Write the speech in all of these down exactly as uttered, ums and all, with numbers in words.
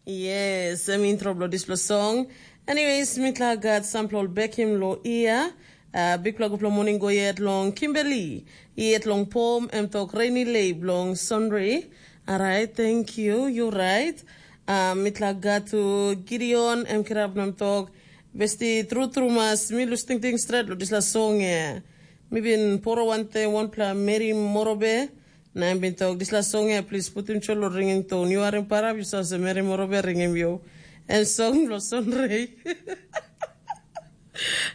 Yes, em intro bilong dispela song. Anyways, mitla gat sampela ol bekim lo ia. Uh, bikpela gupela moning go yet long Kimberly. Yet long pom em tok rainy lay bilong Sunray. Alright, thank you. You right. Uh, mitla gat tu Gideon em kirap nam tok. Besti tru tru mas mi lus tingting stret lo disla song e. Mi bin poro wante wanpela meri morobe. Na em bin tok, dispela song ya, plis putim cho lo ringing tone. Yu harim parap, yu save meri morobe ringim yu. Em song lo sonrei.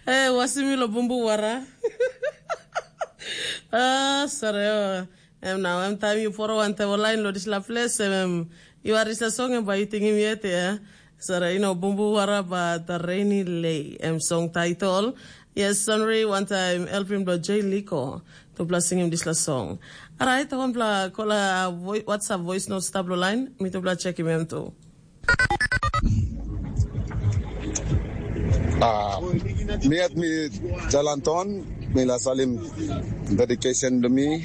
Eh, wasim mi lo bumbu wara. Ah, sare. Oh. Em nau, em taim yu poro wantaim ol lain lo dispela ples, em, em yu harim dispela song em bai yu tingim yet, ya. Sara, ino bumbu wara ba the rainy lay, em song title. Yes, sonri wantaim helpim blo J Liko. Tupela singim dispela song. Alright, wanpela kola voi, WhatsApp voice note stap lo line, mi tupela chekim em tu. Ah, mi at mi jalan ton, mi la salim dedication to mi,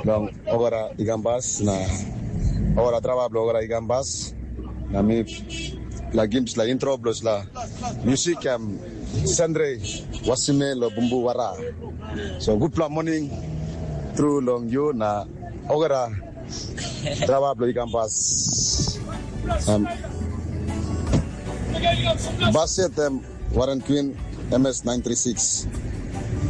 long ogara igambas, na ogara traba blo ogara igambas, na mi la gims la intro blo la music am sendre wasime lo bumbu wara. So gutpela morning through long you na ogara traba blo igambas. Um, Baset em Warren Queen M S nine three six.